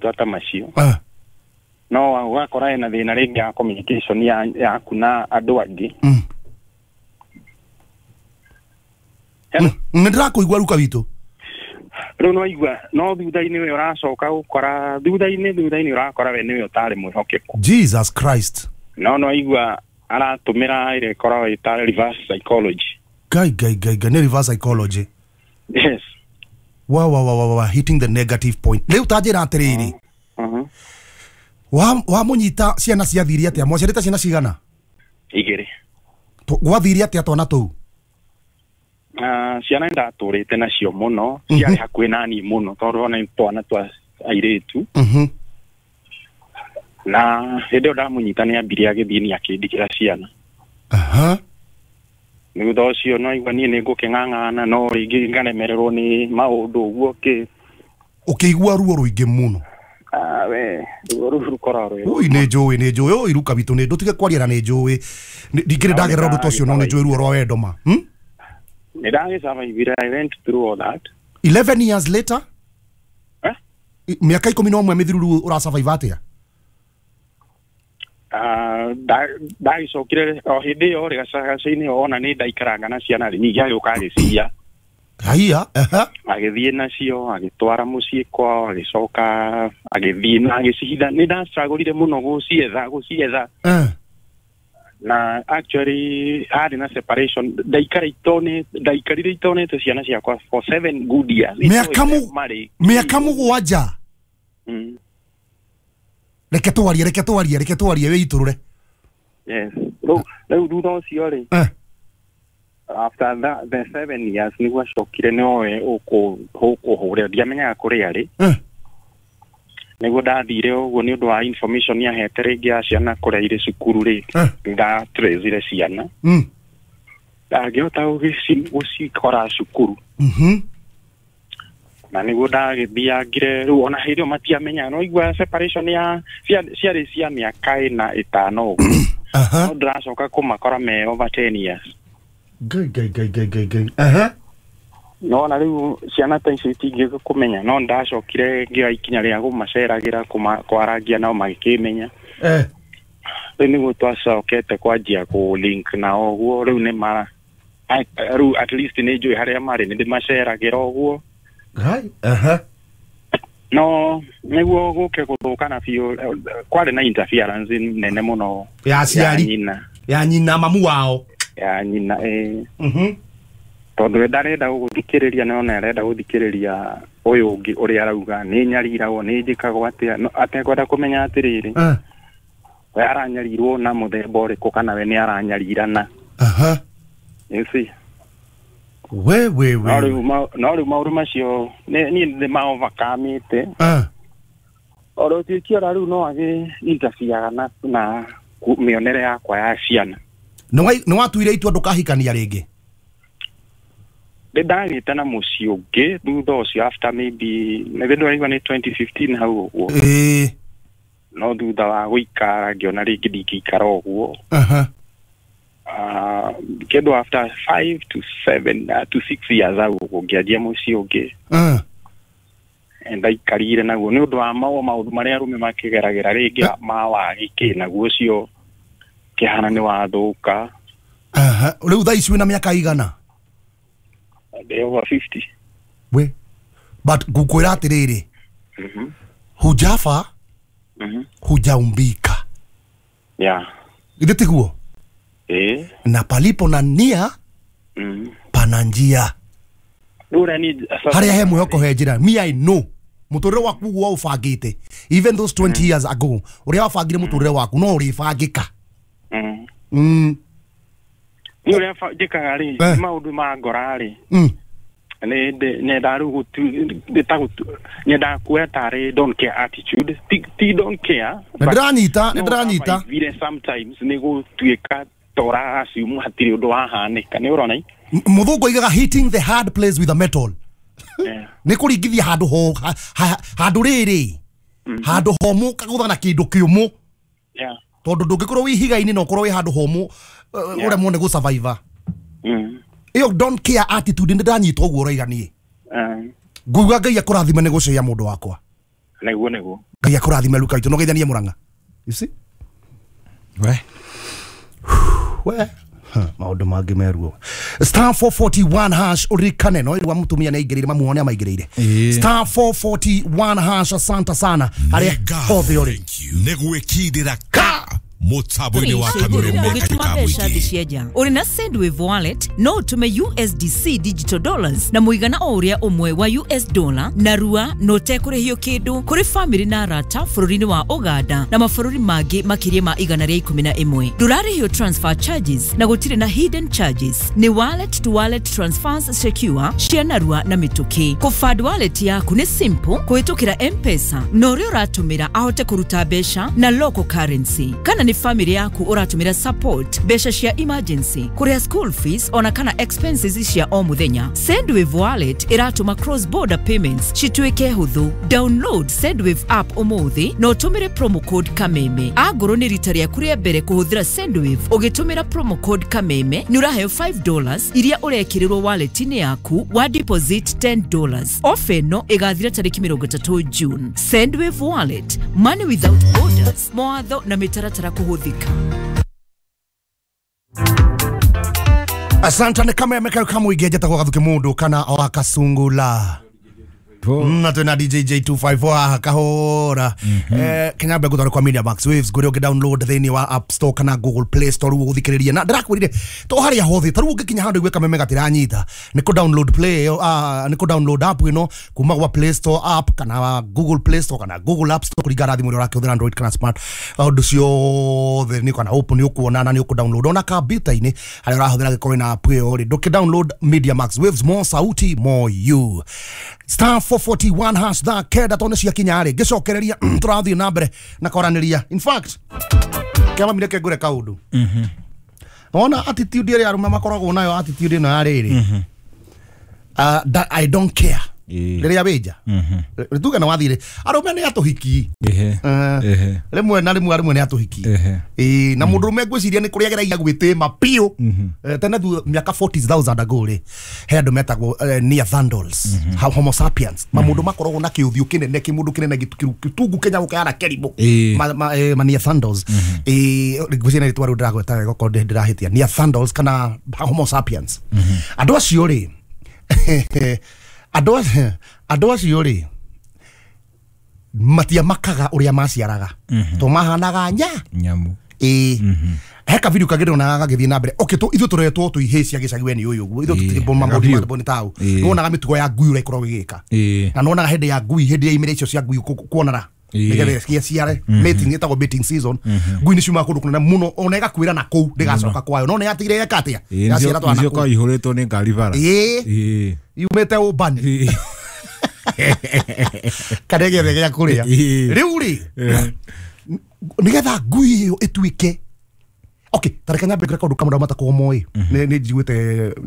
marĩtwa ta macio. No ũgakora ena thĩna rĩngĩ ya communication yaku na andũ angĩ. Nĩ ndĩrakũigua ruka witũ. Rĩu no igua no thutha-inĩ we ũracoka gũkora thutha-inĩ ũrakora we nĩwe ũtarĩ mwĩhokeku. Jesus Christ. No igua aratũmĩra ĩrĩa ĩkoragwo ĩta reverse psychology. Ngai ngai ngai ngai, nĩ reverse psychology. Yes. Wa wa wa wa wa hitting the negative point. Rĩu ta njĩra atĩrĩrĩ. Wa mũnyita ciana ciathire atĩa? Mwaciarĩte ciana cigana? 2. Gwathire atĩa twana tũu? Ciana ndatũrĩte nacio mũno, ciarĩ hakuhĩ nani mũno tondũ ona twana twa airĩtu. Na hĩndĩ ĩyo ndamũnyita nĩ ambirie agĩthiĩ nĩ akĩndigĩra ciana. Thutha ũcio no igua niĩ nĩ ngũkĩng'ang'ana no rĩngĩ ngaremererwo nĩ maũndũ ũguo kĩ. Ũkĩigua ruo rũingĩ mũno. We ruo rũu rũkoragwo rwĩ. Ui nĩ njũĩ oi ruka witũ nĩ ndũtige kwaria na nĩ njũĩ. Ndingĩrĩ ndagerera ũndũ ta ũcio no nĩ njũĩ ruo rwa wendo ma. Nĩ ndagĩsurvivire, I went through all that. 11 years later? Mĩaka 11 mĩthiru rĩu ũrasurvive atĩa? Ndagĩcokire o hĩndĩ ĩyo rĩ gacagaca-inĩ ona nĩ ndaikaranga na ciana rĩ ningĩ agĩũka agĩciya. Haiya, Agĩthiĩ nacio agĩtwara mũciĩ kwao agĩcoka agĩthiĩ na agĩcihitha. Nĩ ndastrugglire mũno gũcietha. Na actually harĩ na separation ndaikarire itonete ciana ciakwa for 7 good years. Mĩaka mũgwanja. Reke twarie wĩitũrũre. Yes. Rĩu thutha ũcio rĩ after that the 7 years nĩguo acokire nĩoe ũkũhũrĩra ndiamenyaga kũrĩa arĩ. Nĩguo ndathire ũguo nĩ ũndũ wa information yahete rĩngĩ ya ciana kũrĩa irĩ cukuru rĩ ndatracire ciana. Ndangĩhota gũcikora cukuru. Na nĩguo ndagĩthiangire rĩu ona hĩndĩ ĩyo matiamenyaga no igua separation ya ciarĩ cia mĩaka 4 5 ũguo. No ndĩracoka kũmakora me over 10 years. Ngai ngai ngai ngai ngai. No na rĩu ciana ta icio itingĩũka kũmenya no ndacokire ngĩoya ikinya rĩa kũmaceragĩra kwarangia nao magĩkĩmenya. Rĩu nĩguo twacokete kwanjia kũ link nao ũguo rĩu nĩ mara rĩu at least nĩ njũĩ harĩa marĩ nĩ ndĩmaceragĩra ũguo. No nĩguo gũke gũthũkana biũ kwarĩ na interference nene mũno ya aciari ya nyina mamu wao ya nyina tondũ we ndarenda gũgũthikĩrĩria no ona arenda gũthikĩrĩria ũyũ ũngĩ ũrĩa arauga nĩ nyariragwo nĩ njĩkagwo atĩa atekwenda kũmenya atĩrĩrĩ we aranyarirwo na mũthemba ũrĩkũ kana we nĩ aranyarirana. You see? We no rĩu maũndũ macio niĩ nĩ ma overcome-ĩte. Oro tuĩkiora rĩu no agĩ interfere na mĩonere yakwa ya ciana. Nĩ watuire itua ndũkahikania rĩngĩ? Nĩ ndagĩte na mũciĩ ũngĩ thutha ũcio after maybe nĩ ndĩraigua nĩ 2015 hau ũguo. No thutha wa gũikara ngĩona rĩngĩ ndingĩikara ũguo. Kĩndũ after 5 to 7 to 6 years hau ũguo ngĩanjia mũciĩ ũngĩ. Ndaikarire naguo nĩ ũndũ wa maũndũ marĩa arũme makĩgeragĩra rĩngĩ ma wagi kĩ naguo ũcio kĩhana nĩ wathũka. Rĩu thaa ici wĩna mĩaka igana? Ndĩ over 50. We but ngũkwĩra atĩrĩrĩ, hujafa hujaumbika. Yeah. Githĩ tiguo? Na palipo na nia pana njia. Harĩa he mwĩhoko he njĩra. Me I know mũtũrĩre waku ũguo waũbangĩte even those 20 years ago ũrĩa wabangire mũtũrĩre waku no ũrĩbangĩka. Nĩ ũrĩa njĩkaga rĩ maũndũ ma ngora rĩ nyendaga rĩu nyendaga kuoya tarĩ don't care attitude ti don't care. Nĩ ndĩranyita sometimes nĩ gũtuĩka tora assume hatirĩ ũndũ wahanĩka nĩ ũrona. Mũthũngũ oigaga hitting the hard place with a metal. Nĩ kũringithia handũ ho handũ rĩrĩ handũ homũ kagũtha na kĩndũ kĩũmũ. Tondũ ndũngĩkorwo wĩ ihiga-inĩ na ũkorwo wĩ handũ homũ ũremwo nĩ gũ-survive. Ĩyo don't care attitude nĩ ndanyita ũguo ũroiga niĩ. Nguigua Ngai akũrathime nĩ gũceia mũndũ wakwa. Nĩguo nĩguo. Ngai akũrathime Luka witũ no geithanie Murang'a. You see? We. We. Maũndũ mangĩ meruo. Star 441 hash uririkane no irwa mutumia nĩ aingĩrĩire mamuone amaingĩrĩire. Star 441 hash asante sana harĩa hothe ũrĩ. Nĩ gwĩkindĩra ka mutambo-inĩ wa Kameme ũgĩtũma mbeca thĩ cia nja ũrĩ na Sendwave wallet no ũtũme USDC digital dollars na mũigana o ũrĩa ũmwe wa US dollar na rua na ũtekũrĩhio kĩndũ kũrĩ famĩlĩ na arata bũrũri-inĩ wa Uganda na mabũrũri mangĩ makĩria ma 111. Ndũrarĩhio transfer charges na gũtirĩ na hidden charges. Nĩ wallet to wallet transfers secure cia narua na mĩtũkĩ. Kũfund wallet yaku nĩ simple kũhĩtũkĩra M-Pesa na ũrĩa ũratũmĩra ahote kũruta mbeca na local currency kana nĩ family yaku ũratũmĩra support mbeca cia emergency kũrĩha school fees ona kana expenses cia o mũthenya. Sendwave wallet ĩratũma cross border payments cituĩke hũthũ. Download Sendwave app ũmũthĩ na ũtũmĩre promo code Kameme. Angorwo nĩ rita rĩaku rĩa mbere kũhũthĩra Sendwave ũgĩtũmĩra promo code Kameme nĩ ũraheo $5 iria ũrekĩrĩrwo wallet-inĩ yaku wa deposit $10. Ofa ĩno ĩgathira tarĩki 30 June. Sendwave wallet, money without borders. Mawatho na mĩtaratara kũhũthĩka. Asante nĩ Kameme kayo kamũingĩ njĩtagwo Gathuki mũndũ kana wa Kasungula. Na twĩna DJ J254 haha kahora. Kenya mbegũ kwa Media Max Waves ngũrĩ ũngĩ download thĩinĩ wa App Store kana Google Play Store rĩu ũgũthikĩrĩria na ndĩrakwĩrire to harĩa hothe ta rĩu ũngĩkinya handũ igue Kameme gatiranyita nĩ kũ download play nĩ kũ download app ĩno kuma gwa Play Store app kana Google Play Store kana Google App Store kũringana na thimũ ĩrĩa ũrakĩhũthĩra Android kana smart ũndũ ciothe nĩ kana open nĩ ũkuona na nĩ ũkũ download ona kompiuta-inĩ harĩa ũrahũthĩra gĩkorwo na app ĩyo rĩ ndũkĩ download Media Max Waves more sauti more you. Star 441 hash thaa kenda tondũ cia kinya rĩ ngĩcokereria tũrathiĩ na mbere na kwaranĩria. In fact kĩama mireke ngũre kaũndũ. Wona attitude ĩrĩa arũme makoragwo nayo attitude ĩno ya rĩrĩ I don't care rĩrĩa wĩnja tuge na wathire arũme nĩ atũhiki rĩmwe na rĩmwe arũme nĩ atũhiki na mũndũrũme ngwĩciria nĩ kũrĩa ageragia gwĩtĩma biũ tene mĩaka 40,000 ago rĩ he andũ metagwo Neanderthals Homo sapiens mamũndũ makoragwo na kĩũthiũ kĩnene kĩmũndũ kĩnene gĩtungu kenya gũkĩhana kĩrimũ ma Neanderthals ngwĩciria nĩ rĩtwa rĩu ndĩragweta wega okorwo ndĩrahĩtia Neanderthals kana Homo sapiens andũ acio rĩ andũ acio rĩ matiamakaga ũrĩa maciaraga to mahanaga nyamu he ka video kangĩ ndonaga gagĩthiĩ na mbere. Okay ithuĩ tũretwo tũihĩ cia gĩcagi we nĩ ũyũ ũguo ithuĩ tũtirĩ maũndũ ma nĩ tau nĩwonaga mĩtugo ya ngui ũrĩa ĩkoragwo ĩgĩka na nĩwonaga hĩndĩ ya ngui hĩndĩ ya imera icio cia ngui kuonana nĩgetha ciaciare mating ĩtagwo mating season ngui nĩ ciumaga kũndũ kũnene mũno ona ĩgakuĩra na kũu ndĩgacoka kwayo no nĩ yatigire yeka atĩa yaciara twana kũu ihũrĩtwo nĩ ngari bara yumĩte ũmbani kana ĩgethe gĩa kũrĩa rĩu rĩ nĩgetha ngui ĩyo ĩtuĩke okay tareke nyambe ngwĩre kaũndũ kamwe matakoragwo moĩ nĩ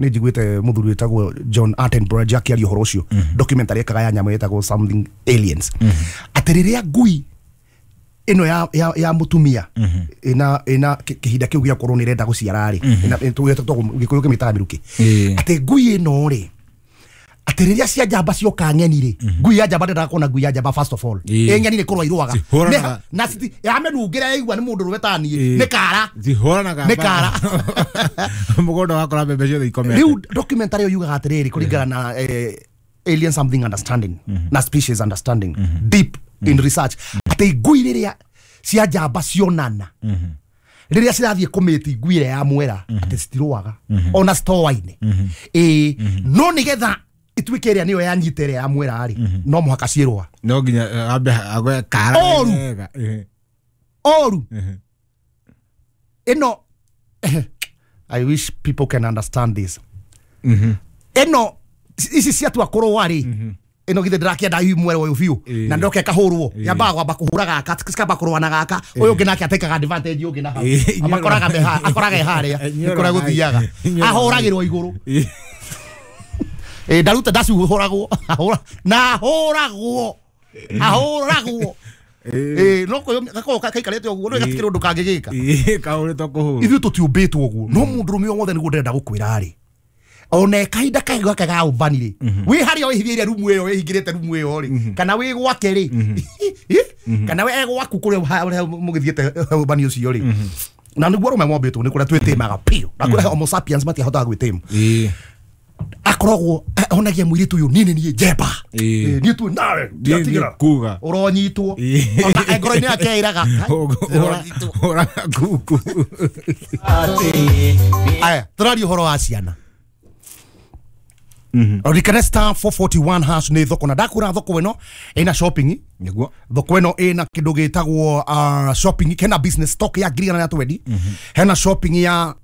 njiguĩte mũthuri wĩtagwo John Attenborough akĩaria ũhoro ũcio documentary ekaga ya nyamũ ĩtagwo something aliens atĩ rĩrĩa ngui ĩno ya mũtumia ĩna kĩhinda kĩu gĩa gũkorwo nĩ ĩrenda gũciara rĩ Gĩkũyũ kĩmĩtaga mĩrukĩ atĩ ngui ĩno rĩ atĩ rĩrĩa cia njamba cioka ng'eni rĩ ngui ya njamba ndendaga kuona ngui ya njamba first of all ĩ ng'eni nĩ kũrũa irũaga na yamĩnungĩra yaigua nĩ mũndũ rũme ta niĩ nĩ kara nĩ kara mũgũnda wakora mbembe ciothe ikomete. Rĩu documentary ĩyo yugaga atĩrĩrĩ kũringana na alien something understanding na species understanding deep in research atĩ ngui rĩrĩa cia njamba cionana rĩrĩa cirathiĩ kũmĩti ngui ĩrĩa ya mwera atĩ citirũaga ona citoaine no nĩgetha ituĩke ĩrĩa nĩyo yanyita ĩrĩa ya mwera rĩ no mũhaka ciĩrũa no nginya ambe agwe kara oru ĩno I wish people can understand this ĩno ici ciatua kũrũa rĩ ĩno githĩ ndĩrakĩenda hihi mwera ũyũ biũ na ndoke kahũrwo yambaga kwamba kũhũra gaka cikamba kũrũa na gaka ũyũ ũngĩ nake atekaga advantage ũngĩ na hau amakoraga akoraga e harĩa nĩ kũrĩa gũthiaga ahũragĩrwo igũrũ ndaruta ndacuhũragwo na ahũragwo ahũragwo no gakorwo kaikarĩte ũguo no gatikĩrĩ ũndũ kangĩgĩka kahũrĩtwo kũhũrwo ithuĩ tũtiũmbĩtwo ũguo no mũndũrũme o wothe nĩguo ndĩrenda gũkwĩra rĩ Ona kahinda kahigo gake ga ũmbani rĩ, wĩ harĩa wĩhithĩire rumu ĩyo, wĩhingĩrĩte rumu ĩyo rĩ, kana wĩ gwake rĩ, kana wĩ gwaku kũrĩa mũgĩthiĩte ũmbani ũcio rĩ. Na nĩguo arũme mombĩtwo nĩ kũrĩa twĩtĩmaga piũ, na kũrĩa homo sapiens matiahotaga gwĩtĩma. Akoragwo onagia mũirĩtu ũyũ niĩ nĩ niĩ njemba, niĩ tu nawe ndiatigĩra kuga ũronyitwo, ona ngoro-inĩ yake ĩraga ũraga kuku. Aya, tũraria ũhoro wa ciana. Ririkana star 441 hash nĩ thoko, na ndakũra thoko ĩno ĩna shopping. Nĩguo thoko ĩno ĩna kĩndũ gĩtagwo shopping, hena business stock ya 120,000, hena shopping ya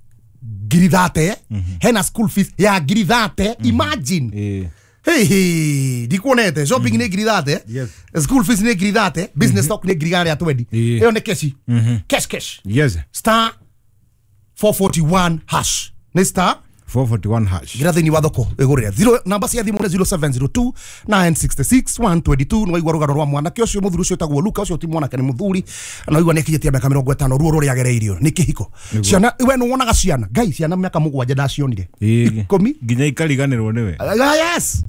30,000, hena school fees ya 30,000. Imagine. Hey hey, ndikuonete shopping nĩ 30,000, school fees nĩ 30,000, business stock nĩ 120,000. Ĩyo nĩ cash. Cash cash. Yes. Star 441 hash. Nĩ star 441 hash. Gira thĩinĩ wa thoko ĩgũrĩre. Zero namba cia thimũ nĩ 0702 966 122. Nĩ waigua rũgano rwa mwanake ũcio mũthuri ũcio ũtagwo Luka, ũcio ti mwanake nĩ mũthuri, na waigua nĩ akinyĩtie mĩaka 50, ruo rũrĩa agereirio nĩ kĩhiko. Ciana we nĩ wonaga ciana, Ngai, ciana mĩaka 7 ndacionire 10 nginya ikariganĩrwo nĩwe. Yes.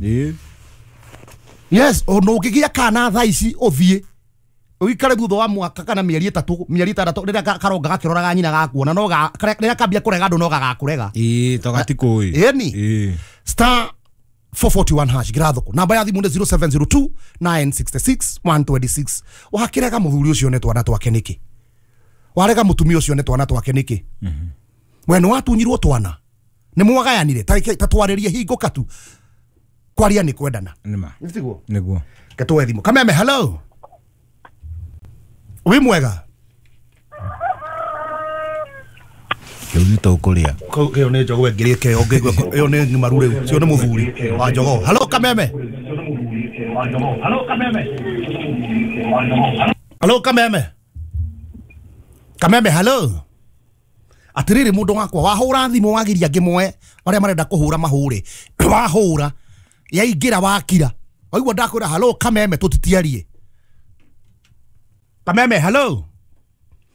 Yes, ona ũngĩgĩa kana thaa ici ũthiĩ ũikare thutha wa mwaka kana mĩeri 3 mĩeri 6 rĩrĩa karonga gakĩroraga nyina gakuona, no rĩrĩa kambia kũrega andũ no gagakũrega. Ĩĩ, to gatikũĩ. Ĩni. Star 441 hash gira thoko. Namba ya thimũ nĩ 0702 966 126. Wakĩrega mũthuri ũcio nĩ twana twake nĩkĩ? Warega mũtumia ũcio nĩ twana twake nĩkĩ? We nĩ watunyirwo twana, nĩ mwagayanire, ta twarĩrie hingo katu kwaria nĩ kwendana. Nĩma. Nĩtiguo? Nĩguo. Ketũe thimũ. Kameme, hello. Wĩ mwega? Kĩu nĩ tũkũrĩa. Kĩo nĩ njogoo ĩngĩrĩke, ũngĩigua ĩyo nĩ ng'imaru rĩu, cio nĩ mũthuri wa njogoo. Hello Kameme. Hello Kameme. Kameme, hello. Atĩrĩrĩ mũndũ wakwa, wahũra thimũ wagiria ngĩmoe arĩa marenda kũhũra mahũre. Wahũra yaingĩra wakira. Waigua ndakwĩra hello Kameme tũtitiarie. Kameme, hello.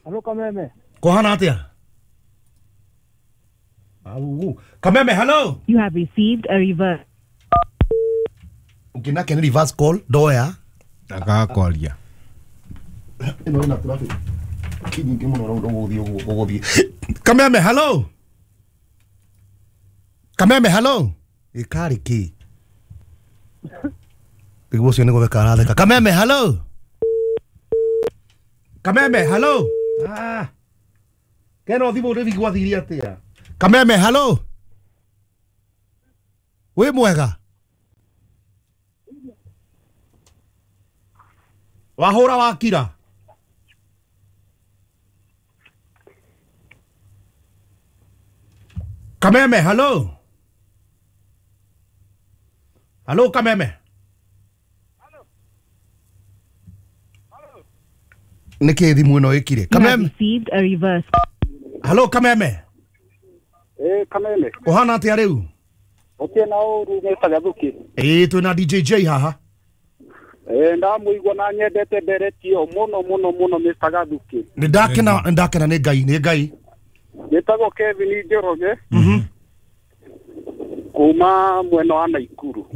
Hello Kameme. Kũhana atĩa? Au. Kameme, hello. You have received a reverse. Ũngĩnake nĩ reverse call ndoya. Ndagakwaria. Ĩno ĩna traffic kinyingĩ mũno rĩu ũgũthiĩ ũgũthiĩ. Kameme, hello. Kameme, hello. Ĩkarĩ kĩ? Nĩguo ũcio nĩ gũtheka aratheka. Kameme, hello. Kameme, hello. Ah. Keno thimũ rĩu gwathirie atĩa? Kameme, hello. Wĩ mwega? Wahũra wakira. Kameme, hello. Hello Kameme. Nĩkĩ thimũ ĩno ĩkire? Kameme. Received a reverse. Hello Kameme. Kameme. Ũhana atĩa rĩu? Ũkĩ na ũru Mr. Gathuki. Twĩna DJ J haha. Ndamũigua na nyendete ndereti ĩyo mũno mũno mũno Mr. Gathuki. Nĩ ndakena nĩ Ngai, nĩ Ngai. Njĩtagwo Kevin Njoroge. Kuma mwena wa Naikuru.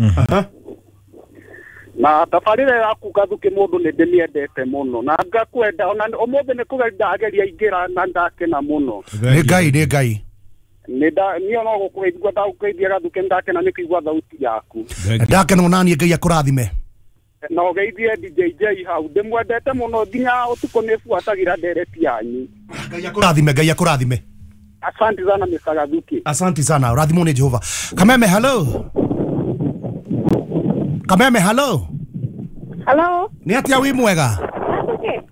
Na tabarĩra yaku Gathuki mũndũ nĩ ndĩmĩendete mũno na ngakwenda ona ũmũthĩ nĩ kũgeria ndageria ingĩra na ndakena mũno. Nĩ Ngai, nĩ Ngai. Niĩ no gũkũgeithia ndagũkũgeithia Gathuki, ndakena nĩ kũigua thauti yaku. Ndakena ona niĩ Ngai akũrathime. Na ũgeithie DJ J hau, ndĩmwendete mũno nginya ũtukũ nĩ buatagĩra ndereti yanyu. Ngai akũrathime, Ngai akũrathime. Asante sana Mr. Gathuki. Asante sana, ũrathimwo nĩ Jehova. Kameme, hello. Kameme, hello. Hello. Nĩ atĩa wĩ mwega?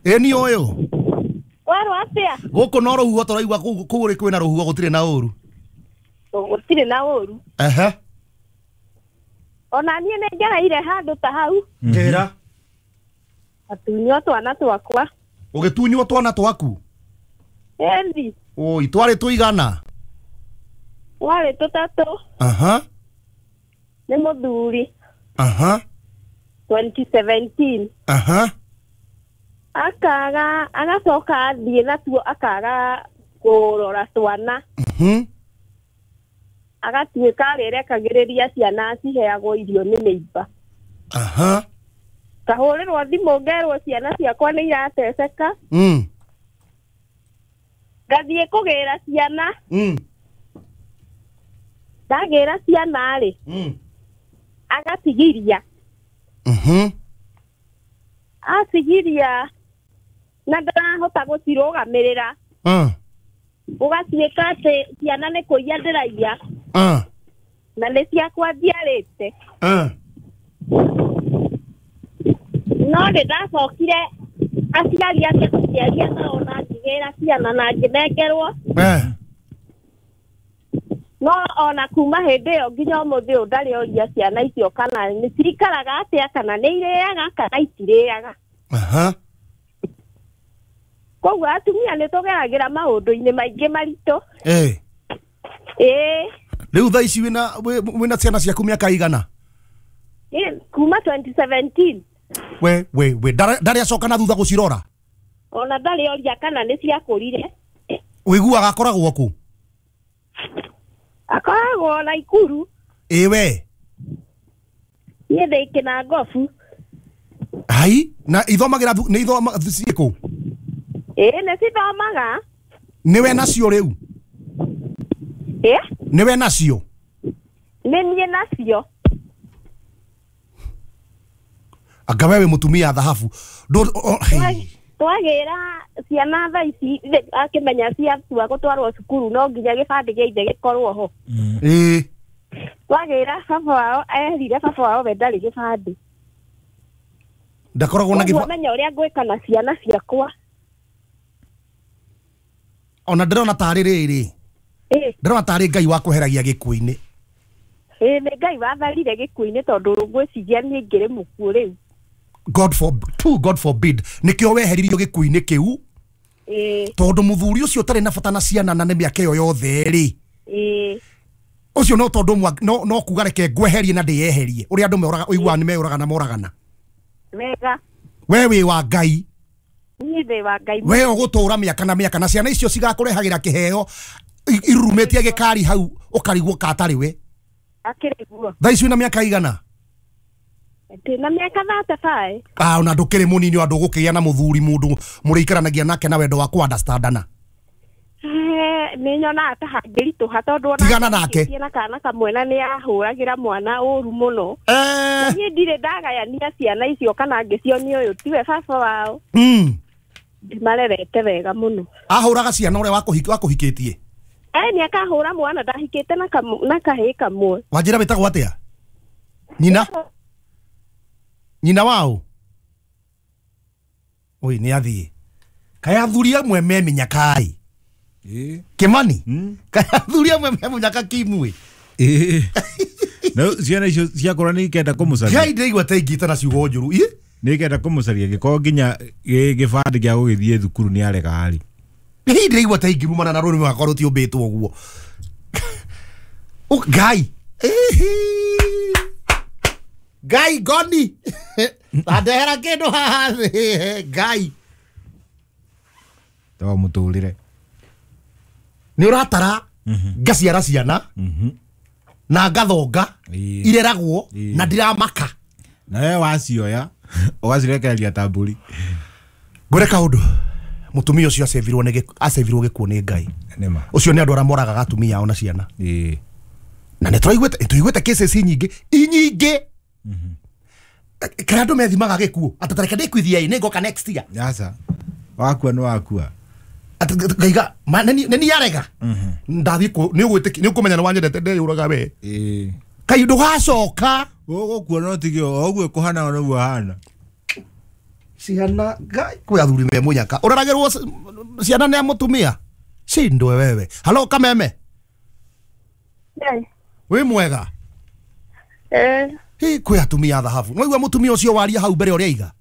Ĩ niĩ ũyũ. Werwo atĩa? Gũkũ no rũhuho tũraigua kũu kwĩna rũhuho gũtirĩ na ũru. Gũtirĩ na ũru. Ehe. Ona niĩ nĩ ngereire handũ ta hau. Njĩra. Atunywo twana twakwa. Ũgĩtunywo twana twaku? Ĩni. Oi, twarĩ tũigana? Twarĩ tũtatũ. Aha. Nĩ mũthuri. Aha. 2017. Aha. Akaga agacoka athiĩ natuo akaga kũrora twana. Agatuĩka arĩrekagĩrĩria ciana ciheagwo irio nĩ neighbor. Aha. Kahũrĩrwo thimũ ngerwo ciana ciakwa nĩ irateceka. Ngathiĩ kũgĩra ciana. Ndagĩra ciana rĩ. Agatigiria. Atigiria na ndarahota gũcirũgamĩrĩra. Ũgatuĩka atĩ ciana nĩ kũiya ndĩraiya. Na nĩ ciakwa njiarĩte. No nĩ ndacokire aciari ake gũciaria nao na ngĩgĩra ciana na ngĩnengerwo. No ona kuma hĩndĩ ĩyo nginya ũmũthĩ ũyũ ndarĩ oria ciana icio kana nĩ cirikaraga atĩa kana nĩ irĩaga kana itirĩaga. Koguo atumia nĩ tũgeragĩra maũndũ-inĩ maingĩ maritũ. Rĩu thaa ici wĩna ciana ciaku mĩaka igana? Kuma 2017. We ndarĩ acoka na thutha gũcirora? Ona ndarĩ oria kana nĩ ciakũrire. Ũiguaga akoragwo kũ? Akoragwo Naikuru. Ĩ we? Niĩ ndĩ Kĩnangobu. Hai, na ithomagĩra nĩ ithoma ciĩ kũ? Ĩ nĩ cithomaga. Nĩwe nacio rĩu? Ĩ? Nĩwe nacio? Nĩ niĩ nacio. Anga wewe mũtumia thahabu. Twagĩra ciana thaa ici akĩmenya ciatua gũtwarwo cukuru no nginya gĩbandĩ gĩa ithe gĩkorwo ho. Twagĩra baba wao erire baba wao we ndarĩ gĩbandĩ. Ndakoragwo na gĩbandĩ. Menya ũrĩa ngwĩka na ciana ciakwa. Ona ndĩrona tarĩ rĩrĩ. Ndĩrona tarĩ Ngai wakweheragia gĩkuũ-inĩ. Nĩ Ngai watharire gĩkuũ-inĩ tondũ ngwĩciria niĩ ngĩrĩ mũkuũ rĩu. God forbid nikio weheririo gĩkuũ-inĩ kĩu. Tondũ mũthuri ũcio ũtarĩ na bata na ciana na nĩ mĩaka ĩyo yothe rĩ. Ũcio no tondũ no kuga reke ngweherie na ndĩyeherie ũrĩa andũ meũraga ũiguaga nĩ meũraga na moragana. Wega. We wĩ wa Ngai. Niĩ ndĩ wa Ngai. We ũgũtũra mĩaka na mĩaka na ciana icio cigakũrehagĩra kĩheo irurumĩtie gĩkari hau ũkarigwo katarĩ we. Akĩrĩ guo. Thaa ici wĩna mĩaka igana? Ndĩna mĩaka 35. Ona ndũkĩrĩ mũnini andũ gũkĩgĩa na mũthuri mũndũ mũrĩikaranagia nake na wendo wa kũ understandana. Nĩ nyonaga ta hangĩritũha tondũ ona tigana nake na kana kamwe na nĩ ahũragĩra mwana ũru mũno. Niĩ ndirĩ ndagayania ciana icio kana ngĩcionia ũyũ tiwe baba wao. Ndimarerete wega mũno. Ahũraga ciana ũrĩa wakũhikĩtie? Nĩ akahũra mwana ndahikĩte na kahĩĩ kamwe. Wanjĩra wĩtagwo atĩa? Nyina? Nyina wao? Oi nĩ athiĩ. Kaĩ athuri amwe me mĩnyaka-ĩ? Kimani? Kaĩ athuri amwe me mũnyaka kimwe? No ciana icio ciakũra nĩ ikenda kũmũcaria. Ngai ndĩraigua ta ingĩta na ciugo njũru. Nĩ ikenda kũmũcaria gĩkorwo nginya gĩbandĩ gĩa gũgĩthiĩ thukuru nĩ arega rĩ. Hihi ndĩraigua ta ingĩrumana na rũrĩmĩ rwakwa rũtiũmbĩtwo ũguo. Ngai. Ngai ngoni. Andehera kĩndũ haha thĩ. Ngai. To mũtũrĩre. Nĩ ũratara ngaciara ciana na ngathonga ireragwo na ndiramaka. Na we wacioya ũgacirekereria ta mbũri. Ngwĩre kaũndũ. Mũtumia ũcio acevirwo gĩkuũ nĩ Ngai. Ũcio nĩ andũ arĩa moragaga atumia ao na ciana. Na nĩ tũiguĩte cases nyingĩ inyingĩ. Kana andũ methimaga gĩkuũ atĩ ta reke ndĩkuithie nĩ ngoka next year. Aca. Wakua nĩ wakua. Ngaiga nĩ niĩ arega. Ndathiĩ nĩ ũkũmenya nĩ wanyendete ndeyũraga we. Kai ndũgacoka. Ũgũkua no tige o ũguo kũhana noguo ahana. Ciana Ngai kwĩ athuri me mũnyaka. Ũraragĩrwo ciana nĩ mũtumia. Cindwe wewe. Halo Kameme. Wĩ mwega? Hi kwĩ atumia thahabu. No igua mũtumia ũcio waria hau mbere ũrĩa aiga.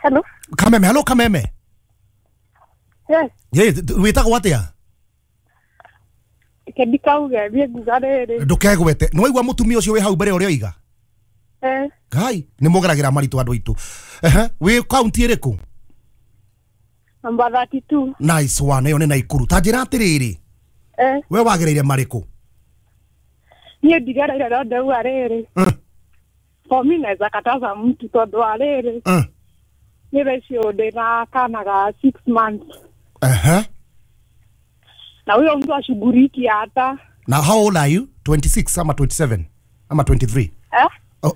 Hello. Kameme, hello Kameme. Yes. Wĩtagwo atĩa? Reke ndikauge thiĩ nguga rĩrĩ. Ndũkegwete. Nĩ waigua mũtumia ũcio wĩ hau mbere ũrĩa oiga? Ngai, nĩ mũgeragĩra maritũ andũ aitũ. Wĩ kaunti ĩrĩkũ? Number 32. Nice one, ĩyo nĩ Naikuru. Ta njĩra atĩrĩrĩ. We wagĩrĩire marĩkũ? Niĩ ndigereire no ndauga rĩrĩ. For me naweza kataza mtu tondu wa rĩrĩ. Nĩ thaa icio ndĩna kana ga 6 months. Na huyo mtu ashughuliki hata. Na how old are you? 26 ama 27 ama 23?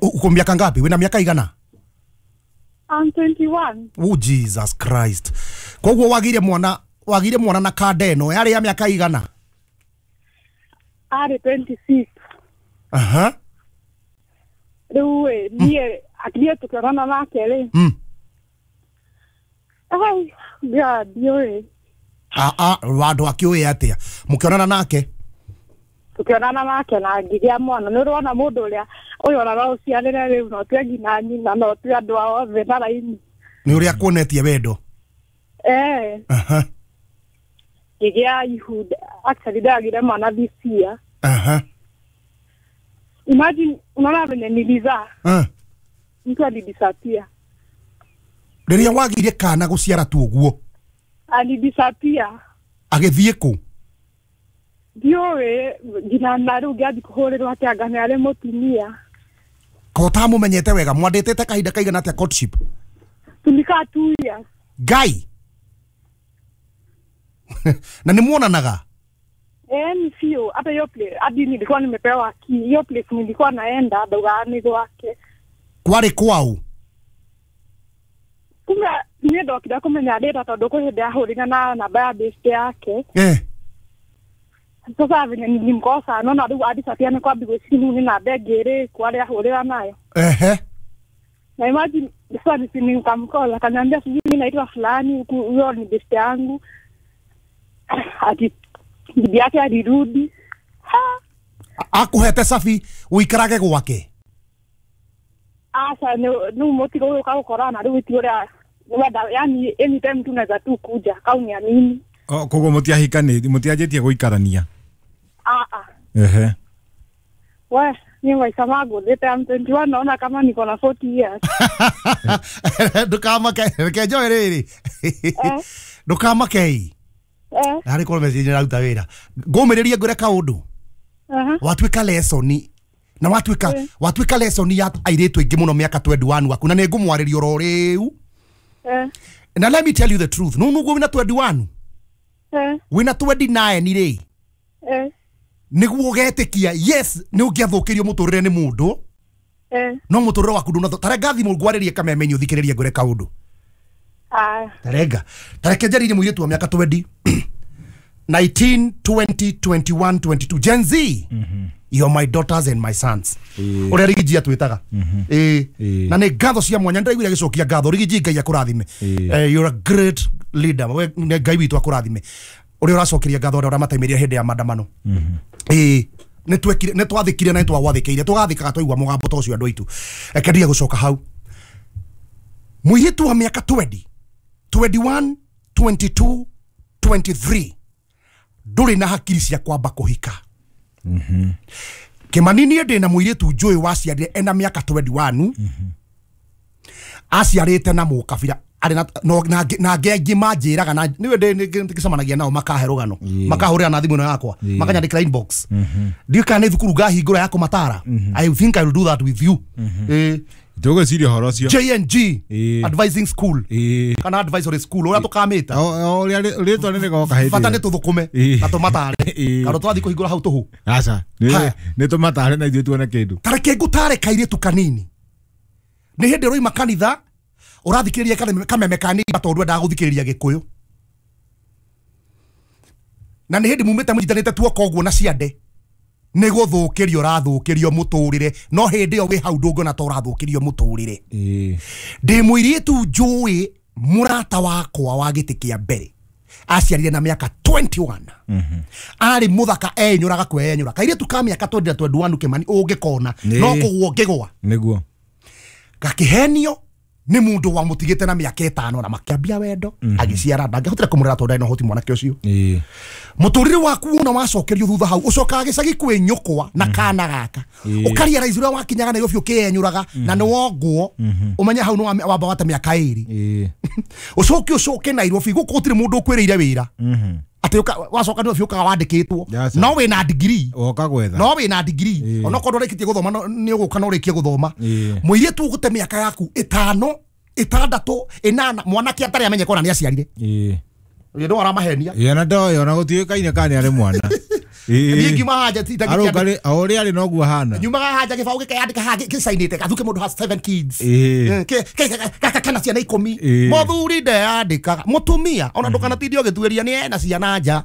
Uko miaka ngapi? Wena miaka igana? I'm 21. Oh Jesus Christ. Koguo wagire mwana na kanda ĩno yarĩ ya miaka igana? Arĩ 26. Rĩu niĩ akirie tukionana nake rĩ. Ai, God, ndiũĩ. Wandũ akĩũĩ atĩa? Mũkĩonana nake? Tukionana nake na ngĩgĩa mwana. Nĩ ũrona mũndũ ũrĩa ũyũ ona no ũciarĩre rĩu no tue nginya nyina no tue andũ ao othe na raini. Nĩ ũrĩa akuonetie wendo? Ngĩgĩa ihu, actually ndagire mwana this year. Imagine unaona venye nilizaa. Mtu alidisappear. Rĩrĩa wagire kana gũciara tu ũguo? Alidisappear. Agĩthiĩ kũ? Ndiũĩ nginya na rĩu ngĩambi kũhũrĩrwo atĩ anga nĩ arĩ mũtumia. Ko ũtamũmenyete wega mwandĩtĩte kahinda kaigana atĩa courtship? Tulikaa 2 years. Ngai. Na nĩ muonanaga? Ni sio hata hiyo place hadi nilikuwa nimepewa key. Hiyo place nilikuwa naenda ndaugaga nĩ gwake. Kwarĩ kwao? Kumbe niĩ ndokire kũmenya rĩra tondũ kwĩ hĩndĩ ahũrire na namba ya best yake. Sasa venye nilimkosa naona rĩu adisappear nĩ kwambi gwĩciria nĩ namba ĩngĩ ĩrĩ kũ arĩa ahũrĩra nayo. Na imagine sasa nikamcall akaniambia sijui mimi naitwa fulani huyo ni best yangu. Ati bibi yake alirudi. Akuhete safi uikarage gwake? Asa ni mutigo ũyũ ũkaũkorana rĩu ti ũrĩa wenda, yani anytime tunaweza tu kuja kauniamini. Koguo mũtiahikanĩtie, mũtianjĩtie gũikarania? We, ni maisha mangu, I'm 21 naona kama niko na 40 years. Ndũkamake, reke njoe rĩrĩ. Ndũkamake. Harĩ korwo message nĩraruta wĩra. Ngũmĩrĩrie ngwĩre kaũndũ. Watuĩka lesson na watuĩka lesson ya airĩtu aingĩ mũno mĩaka 21 waku na nĩ ngũmwarĩria oro rĩu. Na let me tell you the truth. No nũguo wĩna 21. Wĩna 29 rĩ. Nĩguo ũgetĩkia yes nĩ ũngĩathũkĩrio mũtũrĩre nĩ mũndũ. No mũtũrĩre waku ndũna tarenga thimũ ngwarĩrie kameme ũthikĩrĩrie ngwĩre kaũndũ. Tarenga. Tareke njarĩrie mũirĩtu wa mĩaka 20. 19, 20, 21, 22. Gen Z. You are my daughters and my sons. Ũrĩa Rigiji atwĩtaga. Na nĩ ngatho cia mwanya ndĩraiguire agĩcokia ngatho. Rigiji Ngai akũrathime. You're a great leader. We Ngai witũ akũrathime. Ũrĩa ũracokeria ngatho ũrĩa ũramataimĩria hĩndĩ ya maandamano. Nĩ twathĩkire na nĩ twagwathĩkĩire. Tũgathĩkaga twaigua mũgambo ta ũcio andũ aitũ. Reke ndige gũcoka hau. Mũirĩtu wa mĩaka 20, 21, 22, 23 ndũrĩ na hakiri cia kwamba kũhika. Kĩmani niĩ ndĩ na mũirĩtu njũĩ waciarire ena mĩaka 21. Aciarĩte na mũkabira arĩ na angĩ aingĩ manjĩraga na nĩwe ndĩgĩcemanagia nao makahe rũgano makahũrĩra na thimũ ĩno yakwa makanyandĩkĩra inbox. Ndiũĩ kana nĩ thukuru ngahingũra ya kũmatara. I think I will do that with you. Tũgwĩciria ũhoro ũcio. JNG Advising School kana advisory school ũrĩa tũkamĩta. Ũrĩa rĩtwa nĩ rĩgoka hĩndĩ. Bata nĩ tũthũkũme na tũmatare. Kana twathiĩ kũhingũra hau tũhũ. Aca, nĩ tũmatare na ithuĩ tuone kĩndũ. Ta reke ngũtare kairĩtu kanini. Nĩ hĩndĩ ũroima kanitha ũrathikĩrĩria kameme ka neighbor tondũ endaga gũthikĩrĩria Gĩkũyũ. Na nĩ hĩndĩ mumĩte mũnyitanĩte tuoko ũguo na ciande. Nĩ gũthũkĩrio ũrathũkĩrio mũtũrĩre no hĩndĩ ĩyo wĩ hau ndũngĩona ta ũrathũkĩrio mũtũrĩre. Ndĩ mũirĩtu njũĩ mũrata wakwa wa gĩtĩ kĩa mbere aciarire na mĩaka 21. Arĩ mũthaka enyũraga kwenyũra. Kairĩtu ka mĩaka 20 na 21 Kĩmani ũngĩkona no kũgwa ũngĩgwa. Nĩguo. Gakĩhenio nĩ mũndũ wamũtigĩte na mĩaka 5 na makĩambia wendo agĩciara ndangĩahotire kũmũrera tondũ ndarĩ na ũhoti mwanake ũcio. Mũtũrĩre waku wona wacokerio thutha hau ũcokaga gĩcagi kwĩ nyũkwa na kana gaka ũkarealize ũrĩa wakinyaga Nairobi ũkĩenyũraga na nĩ wongwo ũmenye hau nĩ wamba wate mĩaka 2 ũcoke Nairobi gũkũ gũtirĩ mũndũ ũkwĩrĩire wĩra. Atĩ wacoka nĩ ũkaga wandĩkĩtwo. No wĩna degree. Woka gwetha. No wĩna degree. Onokorwo ndũrĩkĩtie gũthoma nĩ ũgũka no ũrĩkie gũthoma. Mũirĩtu ũgũte mĩaka yaku 5, 6, 8 mwanake atarĩ amenye kona nĩ aciarire. Ũyũ no aramahenia. Ĩĩ na ndoĩ ona gũtiũĩkaine kana nĩ arĩ mwana. Niĩ ngiuma haja ti arũngarĩ o ũrĩa arĩ noguo ahana. Nyumaga haja gĩbaũ gĩkeyandĩka haha gĩcainĩte gathuke mũndũ has 7 kids. Kana ciana 10. Mũthuri ndeyandĩkaga. Mũtumia ona ndũkanatinde ũgĩtuĩria nĩ ena ciana nja.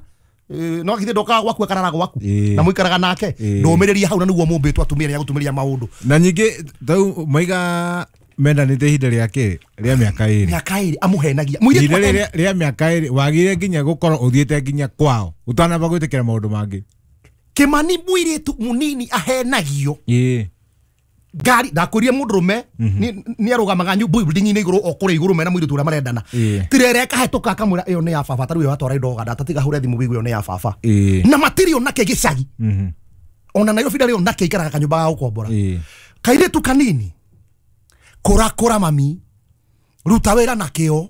No githĩ ndokaga gwaku akarara gwaku na mũikaraga nake ndũmĩrĩria hau na nĩguo mũmbĩtwo atumia nĩ agũtumĩria maũndũ. Na nyingĩ tau maiga mendanĩte ihinda rĩa kĩ rĩa mĩaka 2. Mĩaka 2 amũhenagia. Mũirĩtu rĩa mĩaka 2 wagire nginya gũkorwo ũthiĩte nginya kwao ũtanamba gwĩtĩkĩra maũndũ mangĩ. Kĩmani mũirĩtu mũnini ahenagio. Ngari ndakwĩrire mũndũrũme nĩ arũgamaga building-inĩ igũrũ o kũrĩa igũrũ mena mũirĩtu ũrĩa marendana. Tirere kahĩtũka akamwĩra ĩyo nĩ ya baba tarĩu ĩyo atwara indo Uganda tatiga hũre thimũ wĩigue ĩyo nĩ ya baba. Na matirĩ onake gĩcagi. Ona Nairobi ndarĩ onake aikaraga kanyũmba ga gũkombora. Kairĩtu kanini kũra kũra mami ruta wĩra na kĩo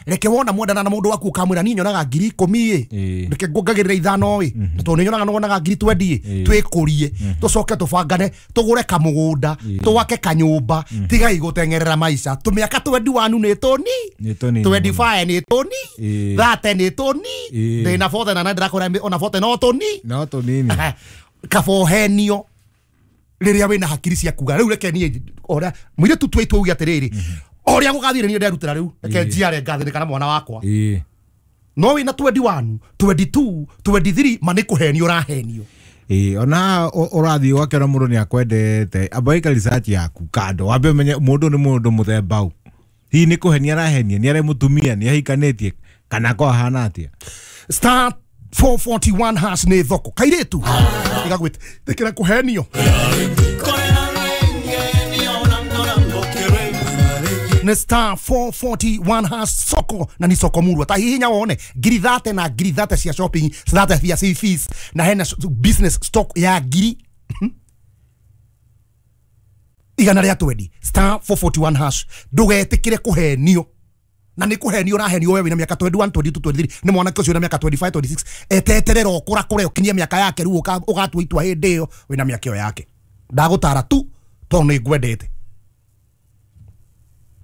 reke wona mwendana na mũndũ waku ũkamwĩra niĩ nyonaga ngiri 10 ĩ reke nguongagĩrĩra 5 ĩ tondũ nĩ nyonaga nĩwonaga ngiri 20 ĩ twĩkũrie tũcoke tũbangane tũgũre kamũgũnda twake kanyũmba tigai gũteng'erera maica tũmĩaka 21 nĩ tũni 25 nĩ tũni 30 nĩ tũni ndĩna 40 na ndĩrakwĩra ona 40 no tũni no tũnini kabohenio rĩrĩa wĩna hakiri cia kuga rĩu reke niĩ ũrĩa mũirĩtu twaitwo uge atĩrĩrĩ ũrĩa gũgathire niĩ nderutĩra rĩu reke njiare ngathĩnĩka na mwana wakwa. No wĩna 21 22 23 ma nĩ kũhenio ũrahenio. Ona ũrathiĩ ũgakĩona mũndũ nĩ akwendete amba ĩka research yaku kando wambe ũmenye mũndũ nĩ mũndũ mũthemba ũ hihi nĩ kũhenia arahenia nĩ arĩ mũtumia nĩ ahikanĩtie kana ko ahana atĩa. Star 441 hash nĩ thoko kairĩtu igagwĩtĩkĩra kũhenio. Nĩ star 441 hash soko na ni soko murwa ta hihinya wone ngiri 30 na ngiri 30 cia shopping 30 cia fees na hena business stock ya ngiri igana rĩa 20 star 441 hash ndũgetĩkĩre kũhenio na nĩ kũhenio ũrahenio we wĩna mĩaka 21 22 23 nĩ mwanake ũcio wĩna mĩaka 25 26 eteterera ũkũra kũrĩa ũkinyie mĩaka yake rĩu ũgatua itua hĩndĩ ĩyo wĩna mĩaka ĩyo yake ndagũtara tu tondũ nĩ ngwendete.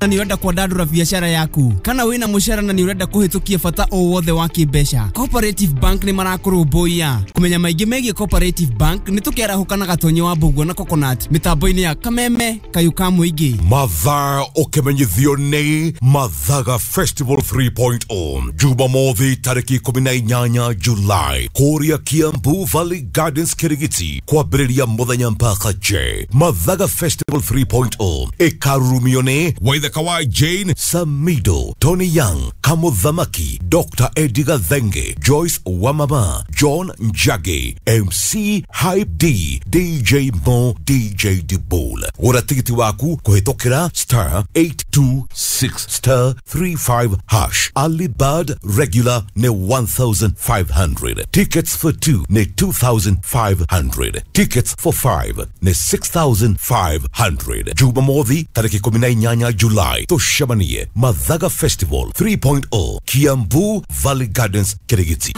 Na nĩ ũrenda kwandandũra biacara yaku kana wĩna mũcara na nĩ ũrenda kũhĩtũkia bata o wothe wa kĩmbeca Cooperative Bank nĩ marakũrũmbũiya kũmenya maingĩ megiĩ Cooperative Bank nĩ tũkĩarahũka na Gatonye wa Mbũguo na Coconut mĩtambo-inĩ ya Kameme Kayũ ka Mũingĩ. Mathaa ũkĩmenyithio nĩ Mathaga Festival 3.0 Jumamothi tarĩki 18 Julai kũrĩa Kiambu Valley Gardens Kirigiti kwambĩrĩria mũthenya mpaka J. Mathaga Festival 3.0 ĩkarurumio nĩ Waithaka wa Jane Samido, Tony Young, Kamuthamaki, Dr. Eddie Gathenge, Joyce Wamama, John Njagi, MC Hype D, DJ Mo, DJ Dibol. Gũra tigiti waku kũhĩtũkĩra star 826 star 35 hash. Early bird regular nĩ 1,500. Tickets for 2 nĩ 2,500. Tickets for 5 nĩ 6,500. Jumamothi tarĩki 18 July tũcemanie Mathaga Festival 3.0 Kiambu Valley Gardens Kirigiti.